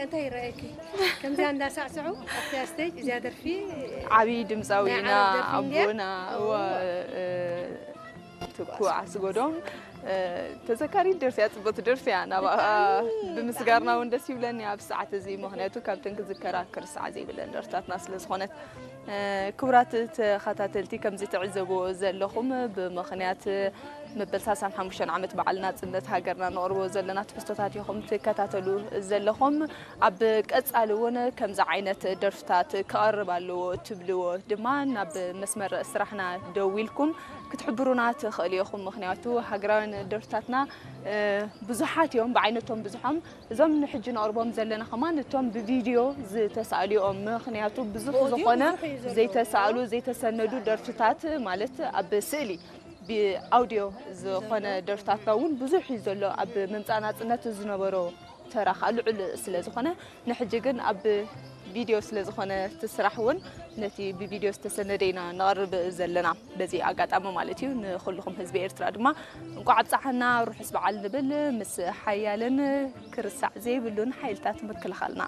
እንታይ ይረኣየኪ? ከምዚኣ እንዳሳዕስዑ ኣብቲ ስቴጅ እዚኣ ደርፊ ዓብዪ ድምፃዊ ናይ ኢና ዓረብ ደርፊ እንድያ? ኣቦና እወ፣ እ፣ ትኩ ዓስጎዶም እ፣ ተዘካሪት ደርፊ እያ፣ ፅብቕቲ ደርፊ እያ። ናብኣ ብምስጋርና እውን ደስ ይብለኒ ኣብ ሰዓት እዚ፣ ምክንያቱ ካብተን ክዝከራ ክርሳዕ ዘይብለን ደርፍታትና ስለ ዝኾነት። እ፣ ክቡራት ተኸታተልቲ፣ ከምዚ ትዕዘብዎ ዘለኹም ብምኽንያት መበል ሰላሳን ሓሙሽተን ዓመት በዓል ናፅነት ሃገርና ነቕርቦ ዘለና ትሕዝቶታት ኢኹም ትከታተሉ ዘለኹም። ኣብ ቀፃሊ እውን ከምዚ ዓይነት ደርፍታት ክቐርብ ኣለዎ ትብልዎ ድማ ናብ መስመር ስራሕና ደዊልኩም ክትሕብሩና ትኽእሉ ኢኹም። ምክንያቱ ሃገራውያን ደርፍታትና እ፣ ብዙሓት እዮም፣ ብዓይነቶም ብዙሖም። እዞም ንሕጂ ነቕርቦም ዘለና ከማን እቶም ብቪድዮ ዝተሳእሉ እዮም። ምክንያቱ ብዙሕ ዝኾነ ዘይተሳእሉ ዘይተሰነዱ ደርፍታት ማለት ኣብ ስእሊ ብኣውዲዮ ዝኾነ ደርፍታትና እውን ብዙሕ እዩ ዘሎ። ኣብ ምምፃእ ናፅነት ዝነበሮ ተራ ከዓ ልዑል ስለ ዝኾነ፣ ንሕጂ ግን ኣብ ቪድዮ ስለ ዝኾነ እቲ ስራሕ እውን ነቲ ብቪድዮ ዝተሰነደ ኢና ነቕርብ ዘለና በዚ ኣጋጣሚ ማለት እዩ። ንኩልኹም ህዝቢ ኤርትራ ድማ እንቋዕ ኣብፀሓና ርሑስ በዓል ንብል ምስ ሓያልን ክርሳዕ ዘይብሉን ሓይልታት ምክልኻልና።